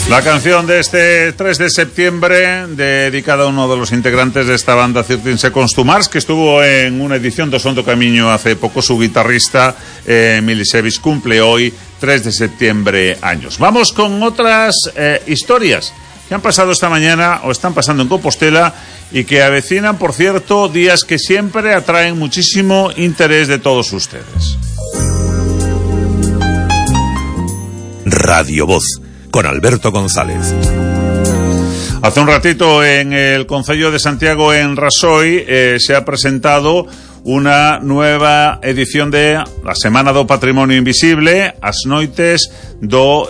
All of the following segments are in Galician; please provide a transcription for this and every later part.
La canción de este 3 de septiembre, dedicada a uno de los integrantes de esta banda, Cirtinse Constumars, que estuvo en una edición de Sondo Camiño hace poco. Su guitarrista, Milisevic, cumple hoy, 3 de septiembre, años. Vamos con otras historias que han pasado esta mañana o están pasando en Compostela y que avecinan, por cierto, días que siempre atraen muchísimo interés de todos ustedes. Radio Voz, con Alberto González. Hace un ratito en el Concello de Santiago, en Rasoy, se ha presentado una nueva edición de la Semana do Patrimonio Invisible, as noites do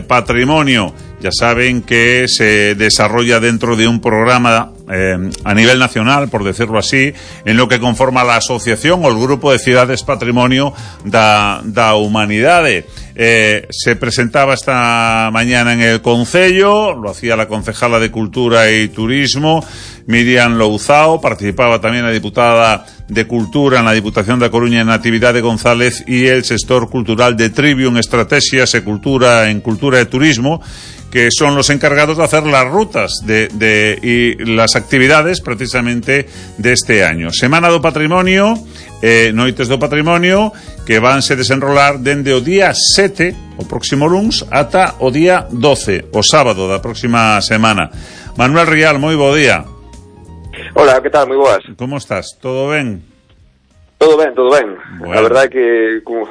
patrimonio. Ya saben que se desarrolla dentro de un programa a nivel nacional, por decirlo así, en lo que conforma la asociación o el grupo de Cidades Patrimonio da Humanidade. Se presentaba esta mañana en el Concello, lo hacía la concejala de Cultura y Turismo, Miriam Louzao. Participaba también la diputada de Cultura en la Diputación da Coruña, Natividade González, y el sector cultural de Trivium Estrategias en Cultura y Turismo, que son los encargados de hacer las rutas y las actividades precisamente de este año. Semana do Patrimonio, noites do Patrimonio, que vanse desenrolar dende o día 7, o próximo luns, ata o día 12, o sábado da próxima semana. Manuel Rial, moi bo día. Hola, que tal? Moi boas. Como estás? Todo ben? Todo ben, todo ben. Bueno. A verdade é que,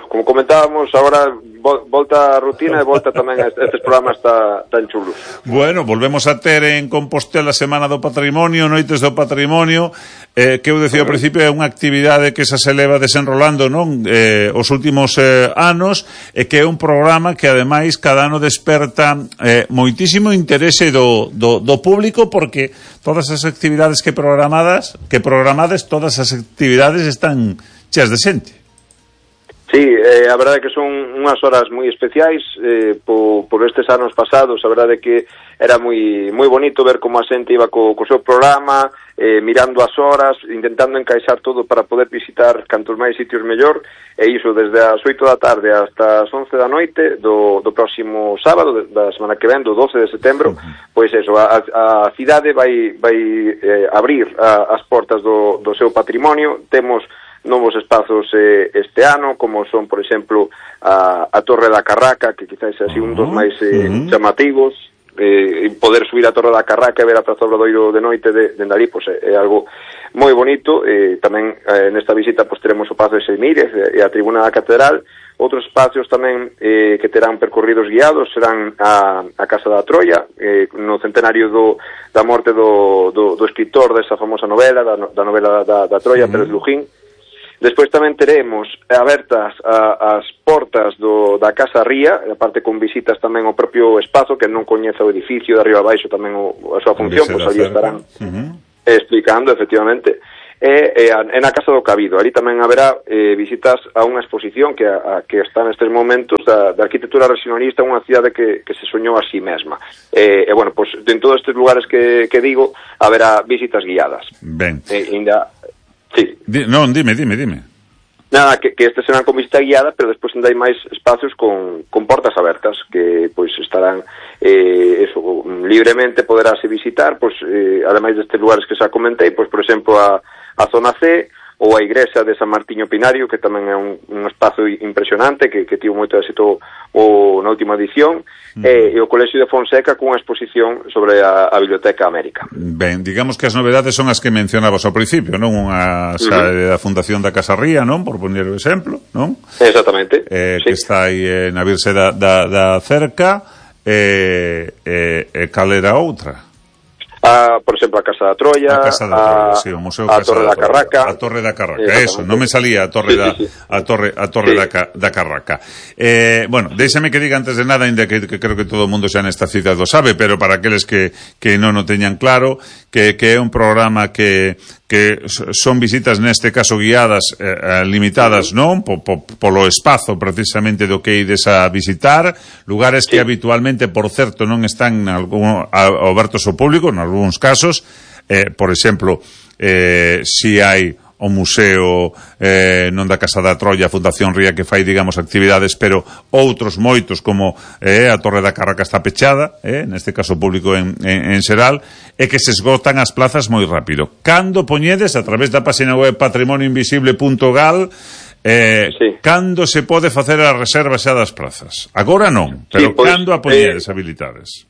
como comentábamos, agora volta a rutina e volta tamén a estes programas tan chulos. Bueno, volvemos a ter en Compostela Semana do Patrimonio, Noites do Patrimonio, que eu decía ao principio, é unha actividade que se leva desenrolando, non? Os últimos anos, e que é un programa que ademais cada ano desperta moitísimo interese do público, porque todas as actividades que programades, todas as actividades están cheas de xente. Sí, a verdade é que son unhas horas moi especiais por estes anos pasados. A verdade é que era moi bonito ver como a xente iba co seu programa, mirando as horas, intentando encaixar todo para poder visitar cantos máis sitios mellor, e iso desde as 8 da tarde hasta as 11 da noite do próximo sábado, da semana que ven, do 12 de setembro. Pois eso, a cidade vai abrir as portas do seu patrimonio. Temos novos espazos este ano, como son, por exemplo, a Torre da Carraca, que quizás é así un dos máis chamativos. Poder subir a Torre da Carraca e ver a Praza Obradoiro de noite dende ali, pois é algo moi bonito. Tamén nesta visita pois teremos o Pazo de Seimíres e a Tribuna da Catedral. Outros espacios tamén que terán percorridos guiados serán a Casa da Troia, no centenario da morte do escritor desa famosa novela, da novela da Troia, Pérez Lujín. Despois tamén teremos abertas as portas da Casa Ría, aparte con visitas tamén ao propio espazo, que non coñece o edificio de arriba a baixo tamén a súa función, pois ali estarán explicando, efectivamente. E na Casa do Cabido, ali tamén haberá visitas a unha exposición que está nestes momentos da arquitectura racionalista, unha cidade que se soñou a sí mesma. E bueno, pois en todos estes lugares que digo, haberá visitas guiadas. Ben. Sí. Non, dime. Nada, que este serán con visita guiada, pero despois ainda hai máis espacios con portas abertas que pois estarán libremente poderase visitar, pois ademais destes lugares que xa comentei, pois por exemplo a zona C ou a igrexa de San Martiño Pinario, que tamén é un espazo impresionante que tivo moito éxito na última edición, e o Colexio de Fonseca cunha exposición sobre a Biblioteca América. Ben, digamos que as novedades son as que mencionabas ao principio, non? Unha da Fundación da Casa Ría, non? Por poner o exemplo, non? Exactamente. Sí. Que está aí na Virse da Cerca, cal era outra? Por exemplo, a Casa da Troia, sí, o Museo a Torre da Carraca. A Torre da Carraca, eso, non me salía a Torre da Carraca. Bueno, déixame que diga antes de nada, ainda que creo que todo o mundo xa nesta cidade lo sabe, pero para aqueles que non o teñan claro, que é un programa que son visitas neste caso guiadas, limitadas, non? Polo espazo precisamente do que ides a visitar, lugares que habitualmente, por certo, non están abertos ao público, en algúns casos, por exemplo, si hai o Museo non da Casa da Trolla, a Fundación Ría, que fai, digamos, actividades, pero outros moitos, como a Torre da Carraca está pechada, neste caso público en Seral, e que se esgotan as plazas moi rápido. Cando poñedes, a través da página web patrimonioinvisible.gal, cando se pode facer a reserva xa das plazas? Agora non, pero cando a poñedes habilitades?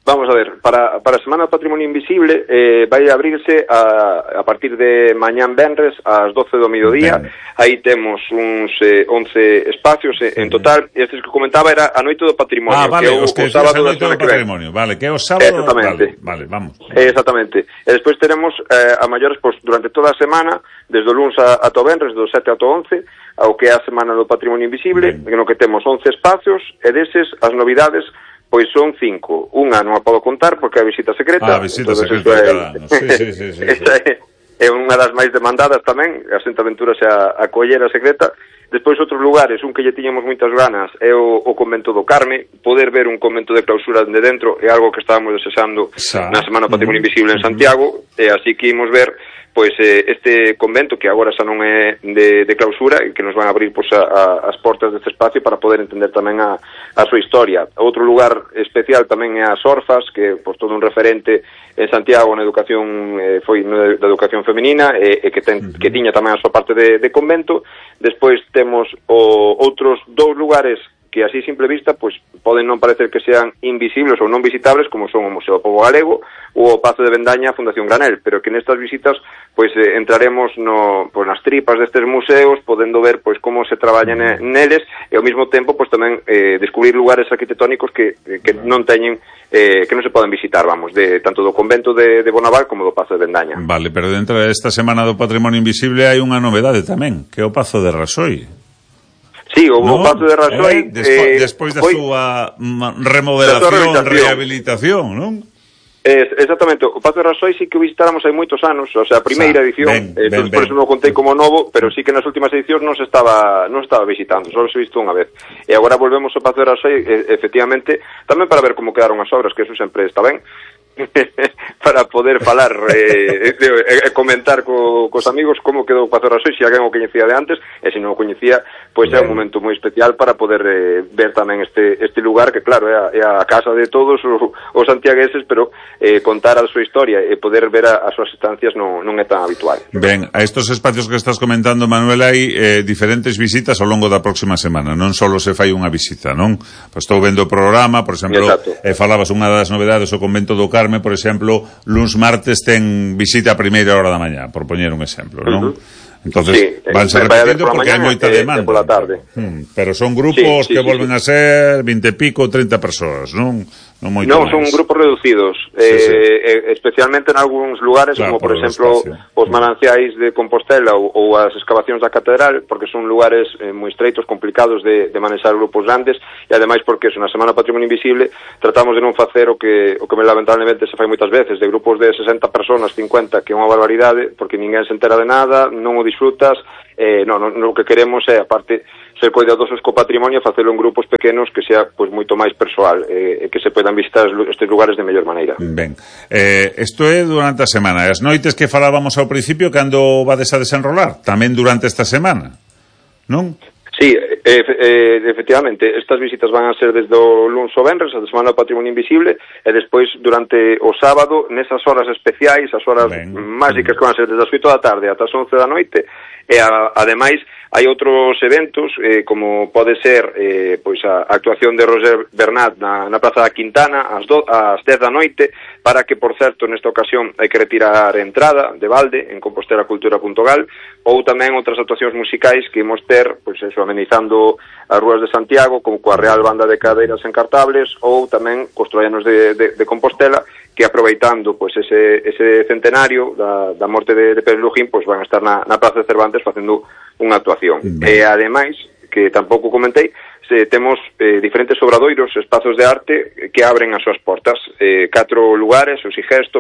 Vamos a ver, para a Semana do Patrimonio Invisible vai abrirse a partir de mañán venres ás 12 do mediodía. Aí temos uns 11 espacios en total. Estes que comentaba era a Noite do Patrimonio, vale, que é o sábado da Noite do Patrimonio. Vale, que é o sábado. Exactamente. Vale, vamos. Exactamente. E despois teremos a maiores, pois, durante toda a semana, desde o luns ata o venres, do 7 ata o 11, ao que é a Semana do Patrimonio Invisible, no que temos 11 espacios, e deses as novidades pois son 5. Unha non a podo contar porque é a visita secreta. A visita secreta cada ano. Sí. É unha das máis demandadas tamén, a Xente Aventuras e a collera secreta. Despois outros lugares, un que lle tiñamos moitas ganas é o Convento do Carme. Poder ver un convento de clausura de dentro é algo que estábamos desexando na Semana do Patrimonio Invisible en Santiago, e así que imos ver pois este convento que agora xa non é de clausura e que nos van a abrir pois as portas deste espacio para poder entender tamén a súa historia. Outro lugar especial tamén é as Orfas, que pois todo un referente en Santiago na educación, foi da educación feminina e que tiña tamén a súa parte de convento. Despois temos outros dous lugares que así simple vista pois poden non parecer que sean invisibles ou non visitables, como son o Museo do Pobo Galego ou o Pazo de Vendaña, a Fundación Granel, pero que nestas visitas pois entraremos nas tripas destes museos, podendo ver pois como se traballa neles, e ao mesmo tempo pois tamén descubrir lugares arquitectónicos que non teñen que non se poden visitar, vamos, tanto do convento de Bonaval como do Pazo de Vendaña. Vale, pero dentro desta Semana do Patrimonio Invisible hai unha novedade tamén, que é o Pazo de Rasoi. Sí, o Pazo de Rasoi despois da súa remodelación, rehabilitación, non? Exactamente, o Pazo de Rasoi sí que o visitáramos hai moitos anos, o sea, a primeira edición, por eso non o contei como novo, pero sí que nas últimas edicións non se estaba visitando, só se visto unha vez. E agora volvemos ao Pazo de Rasoi, efectivamente, tamén para ver como quedaron as obras, que eso sempre está ben, para poder falar e comentar cos amigos como quedou o Pazo de Rasoi, se alguén o coñecía de antes, e se non o coñecía, pois é un momento moi especial para poder ver tamén este lugar, que claro, é a casa de todos os santiagueses, pero contar a súa historia e poder ver as súas estancias non é tan habitual. Ben, a estos espacios que estás comentando, Manuel, hai diferentes visitas ao longo da próxima semana, non só se fai unha visita, non? Pois estou vendo o programa, por exemplo, falabas unha das novedades, o Convento do Carme, por exemplo, luns martes ten visita a primeira hora da mañá, por poñer un exemplo, non? Entonces, vanse repetindo porque hai moita demanda. Pola tarde. Pero son grupos que volven a ser 20 e pico, 30 persoas, non? Non, son grupos reducidos, especialmente en algúns lugares, como por exemplo os mananciais de Compostela ou as excavacións da Catedral, porque son lugares moi estreitos, complicados de manexar grupos grandes, e ademais porque na Semana Patrimonio Invisible tratamos de non facer o que lamentablemente se fai moitas veces, de grupos de 60 personas, 50, que é unha barbaridade, porque ninguén se entera de nada, non o disfrutas. Non, o que queremos é, aparte, ser cuidadosos co patrimonio, facelo en grupos pequenos que sea pois moito máis persoal, e que se poidan visitar estes lugares de mellor maneira. Ben, isto é durante a semana. As noites que falábamos ao principio, cando vades a desenrolar? Tamén durante esta semana, non? Sí, efectivamente, estas visitas van a ser desde o luns ao venres, a Semana do Patrimonio Invisible, e despois durante o sábado, nesas horas especiais, as horas mágicas que van a ser desde as 8 da tarde ata as 11 da noite, e ademais hai outros eventos, como pode ser pois a actuación de Roger Bernat na Praza da Quintana ás 10 da noite, para que, por certo, nesta ocasión hai que retirar entrada de balde en compostelacultura.gal, ou tamén outras actuacións musicais que imos ter, pois eso, amenizando as rúas de Santiago, como coa Real Banda de Cadeiras Encartables, ou tamén cos troianos de Compostela, que aproveitando pois ese centenario da morte de Pérez Lujín, pois van a estar na Praza de Cervantes facendo unha actuación. E ademais, que tampouco comentei, temos diferentes obradoiros, espazos de arte que abren as súas portas, 4 lugares, o Sigesto,